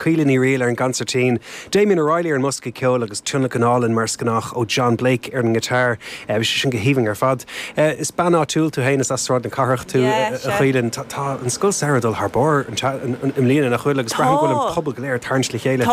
Caoile Ní Fhrighil ar an gconsairtín, Damien O'Reilly ar an mbosca ceoil agus tionlacan álainn mar is gnách ó John Blake ar an ngiotár. Bhí sé sin go haoibhinn ar fad. Is bean áitiúil tú féin, is as Sráid na Cathrach tú, a Chaoilinn. Tá an scoil samhraidh ag dul thar barr i mbliana, nach bhfuil? Agus braithim go bhfuil an pobal go léir ag tarraingt le chéile.